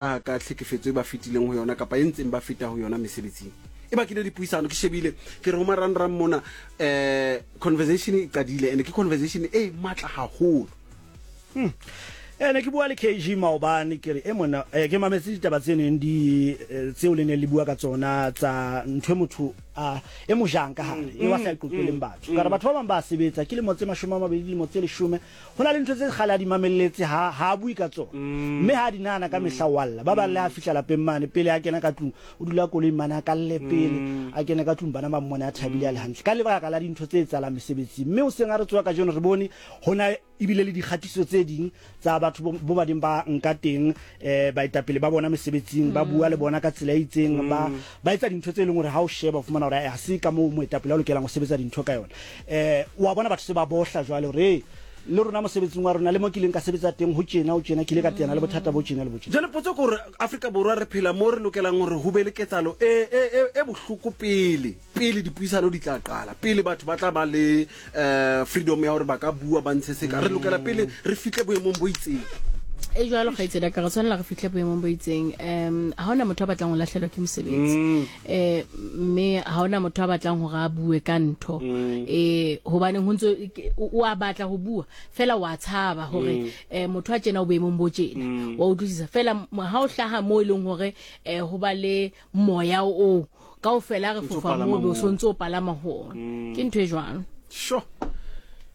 Ka tlhekefetso e ba fetileng ho yona kapa e ntseng ba feta ho yona mesebetsing. E bakile dipuisano, ke shebile ke re ho marangrang mona um conversation e qadile and ke conversation e matla haholo. Hmm. Eh, ne ke bua le KG maobane ke re e mona eh, ke mametse ditaba tse neng di eh, tseo le neng le bua ka tsona tsa ntho e motho a e mo jang ka hare e wa sa e qoqeleng batho ka re batho ba bang ba sebetsa ke lemo tse 20 dilemo tse 10 Ho na le ntho tse kgale a di mamelletse, ha, ha a bue ka tsona. Mme ha a di nahana ka mehla o a lla. Ba bang le ha a fihla lapeng mane, pele a kena ka tlung, o dula koloing mane a kalle pele a kene ka tlung, bana ba mmone a thabile a le hantle. Ka lebaka la dintho tse etsahalang mesebetsing. Mme hoseng ha re tsoha kajeno re bone ho na ebile le dikgatiso tse ding tsa batho bo, bo ba neng ba nka teng eh, baetapele ba bona mesebetsing, ba bua le bona ka tsela e itseng, ba, ba etsa dintho tse leng hore ha o sheba o fumana hore ha se ka moo moetapele a lokelang ho sebetsa dintho ka yona. Eh, wa bona batho se ba bohla jwale hore hey, le rona mosebetsing wa rona le mo ke ileng ka sebetsa teng ho tjena ho tjena ke ile ka teana le bothata bo tjena le bo tjena. Jwale potso ke hore Afrika Borwa re phela mo re lokelang hore ho be le ketsahalo e, e, e, e bohloko pele, pele dipuisano di tla qala, pele batho ba tla ba le eh, freedom ya hore ba ka bua ba ntshe seka. Re lokela pele re fihle boemong bo itseng. E jwalo kgaitsedi ya ka, re tshwanela re fihle boemong bo itseng. Um ha hona motho a batlang ho lahlelwa ke mosebetsi. Eh mme ha hona motho a batlang hore a bue ka ntho. Eh hobaneng ho ntso o a batla ho bua fela wa tshaba hore eh motho a tjena o boemong bo tjena. Wa utlwisisa fela ha o hlaha mo e leng hore eh ho ba le moya o kaofela re fofa mo be o sontse o palama ho ona. Ke ntho e jwalo. Sure.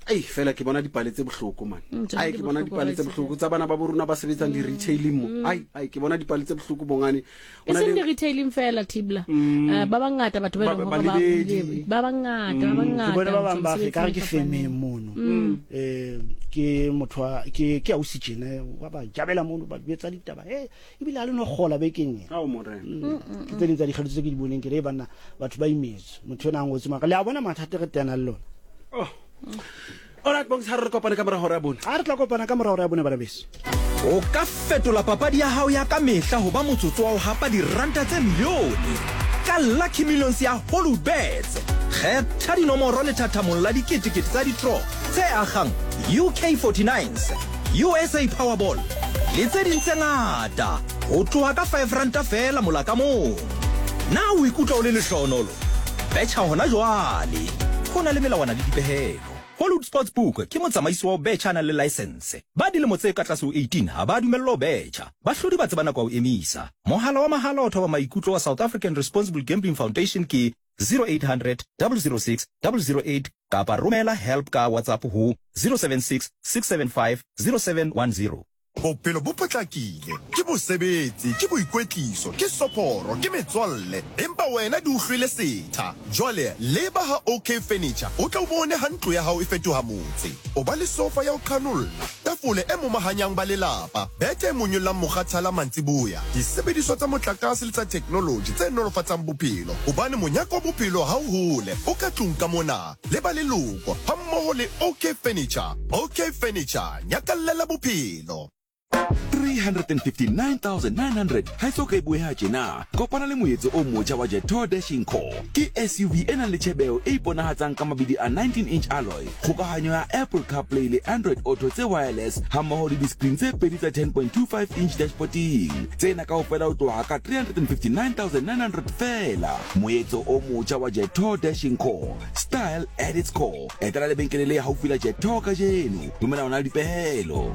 Ei fela ke bona dipale tse bohloko man. Mm, tsona Ai di ke bona bohloko, dipale tse Raitse. bohloko tsa bana ba bo rona ba sebetsang di-retailing mo. Ai ai ke bona dipale tse bohloko bongane. E seng di-retailing fela Tibla. Eh, ba bangata batho ba e leng hore ba Balebedi. buile. Ba bangata, ba Ke bangata. bone ba bang ba mesebetsi re ka re e ke fapaneng. femeng mono. Eh ke motho wa ke ke ausi tjena wa ba jabela mono ba jwetsa ditaba. Eh ebile ha le no kgola bekeng ena. Ao morena. Ke tse ding tsa dikgetho tse ke di boneng ke re "Ee, banna batho ba imetswe. Motho ena a ngotse maka le a bona mathata re teana le lona. Oh. Alright bongs ha re kopane ka mora hora ya bone. A re tla kopana ka mora hora ya bone bana beso. O ka fetola papadi ya hao ya ka mehla ho ba motsotso wa ho hapa diranta tse milione ka Lucky Millions ya Hollywoodbets. Kgetha dinomoro lethathamong la diketekete tsa di-draw tse akgang UK 49s, USA Powerball le tse ding tse ngata ho tloha ka R5 feela mola ka mong. Na o ikutlwa o le lehlohonolo? Betjha hona jwale! Ho na le melawana le dipehelo. Hollywood Sportsbook ke motsamaisi wa ho betjha a nang le laesense. Ba dilemo tse ka tlase ho 18 ha ba dumellwa ho betjha. Bahlodi ba tseba nako ya ho emisa. Mohala wa mahala wa ho thoba maikutlo wa South African Responsible Gambling Foundation ke 0800 006 008 kapa romela help ka WhatsApp ho 076 675 0710. Bophelo bo potlakile, ke mosebetsi, ke boikwetliso, ke soporo, ke metswalle, empa wena di o hlwele setha. Jwale leba ha OK Furniture o tle o bone ha ntlo ya hao e fetoha motse. O ba le sofa ya ho qhanolla, tafole e momahanyang ba lelapa, bethe e monyollang mokgathala mantsiboya, disebediswa tsa motlakase le tsa theknoloji tse nolofatsang bophelo, hobane monyaka wa bophelo ha o hole, o ka tlung ka mona. Le ba leloko hammoho le OK Furniture. OK Furniture, nyakallela bophelo. 359,900 ha e so ka e bueha tjena. Kopana le moetso o motjha wa Jetour Dashing Core. Ke SUV e nang le tjhebeho e iponahatsang ka mabidi a 19-inch alloy, kgokahanyo ya Apple CarPlay le Android Auto tse wireless hammoho le di-screen tse pedi tsa 10.25 inch dashboarding. Tsena kaofela ho tloha ka 359,900 feela. Moetso o motjha wa Jetour Dashing Core. Style at its core. Etela lebenkele le haufi la Jetour kajeno. Dumela ona le dipehelo.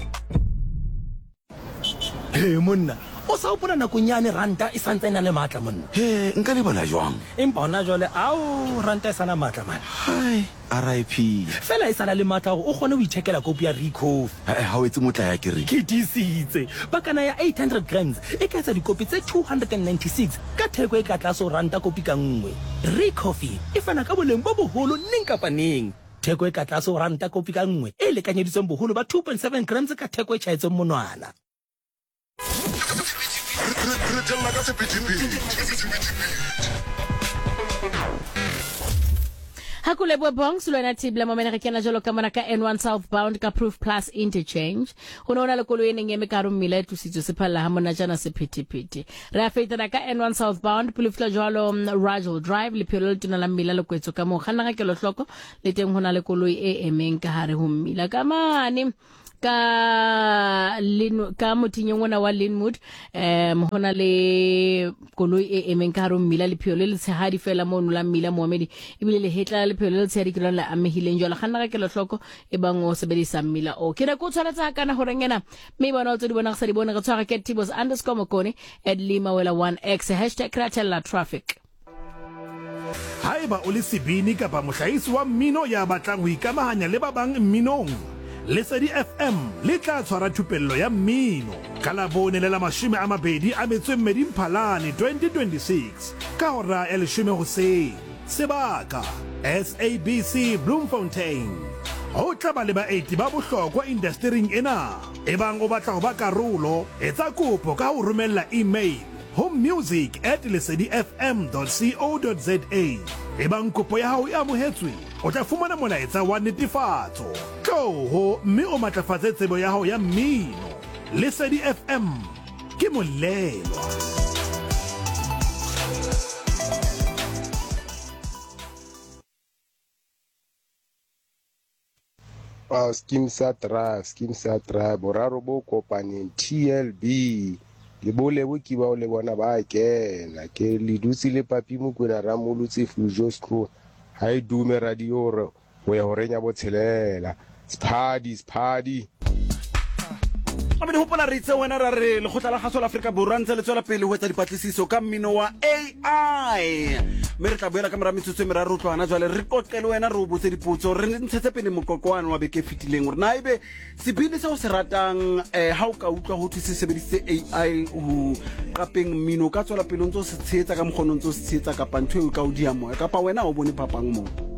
He monna, o sa hopola nakong yane ranta e sa ntse e na le matla monna? He, nka lebala jwang? Empa hona jwale, ao, ranta e sa na matla man. Hai, RIP. Fela e sa na le matla a hore o kgone ho ithekela kopi ya Ricoffy. He-eh, ha o etse motlae akere? Ke tiisitse. Pakana ya 800 grams e ka etsa dikopi tse 296 ka theko e ka tlase ho ranta kopi ka nngwe. Ricoffy e fana ka boleng bo boholo neng kapa neng. Theko e ka tlase ho ranta kopi ka nngwe e lekanyeditsweng boholo ba 2.7 grams ka theko e tjhaetsweng monwana. Re tella ka sephethephethe. Ha ko lebohe Bongs le wena Tibla Momene re kena jalo ka mona ka N1 southbound ka Proof Plus interchange. Ho ne ho na le koloi e neng e eme ka hare ho mmila e tlositswe se phalla ha monatjana sephethephethe. Re a fetana ka N1 southbound pele fihla jwalo mm, Rajel Drive lephelo le letona la mmila le kwetswe ka moo. Kganna ka kelohloko le teng ho na le koloi e emeng ka hare ho mmila ka mane. Ka Lin, ka mothinyeng ona wa Linwood um ho na le koloi e emeng ka hare ho mmila, lepheo le letshehadi fela mono la mmila moomedi, ebile lehetla la lepheo le letshehadi ke lona le amehileng. Jwale kganna ka kelohloko e bang o sebedisa mmila o. Ke ne ke o tshwanetse hakana horeng ena, mme bona o tse di bona re sa di bone, re tshwara ke Tibos underscore Mokone at Lima Wela 1x hashtag Ratella Traffic. Haeba o le sebini kapa mohlahisi wa mmino ya batlang ho ikamahanya le ba bang mminong, Lesedi FM le tla tshwara thupello ya mmino ka Labone le la 22 Mphalane 2026 ka hora ya leshome hoseng. Sebaka, SABC Bloemfontein. Ho tla ba le baeti ba bohlokwa indastering ena. Ebang o batla ho ba karolo, etsa kopo ka ho romella email ho music at lesedifm dot co dot za. Ebang kopo ya hao e amohetswe, o tla fumana molaetsa wa netefatso. Tloho mme o matlafatse tsebo ya hao ya mmino. Lesedi FM ke molelwa. Uh, skeem sa drive skeem sa drive boraro bo kopaneng tlb le bolebo ke bao le bona ba kena ke le dutse le papi mokwena ramolotse fujo screw ha e dume radio hore ho ya horeng ya botshelela sephadi sephadi Gape hopola re itse wena ra re lekgotla la kgaso la Afrika Borwa ntse le tswela pele ho etsa dipatlisiso ka mmino wa AI mme re tla boela ka mora metsotso e meraro ho tloha hona jwale re qoqe le wena re o botse dipotso re ntshetse pele moqoqo wane wa beke e fetileng hore na ebe sebini se o se ratang um ha o ka utlwa ho thwe se sebedisitse AI ho qapeng mmino o ka tswela pele o ntse o se tshehetsa ka mokgwa o ne o ntse o se tshehetsa kapa ntho eo e ka o diya moya kapa wena ha o bone phapang moo.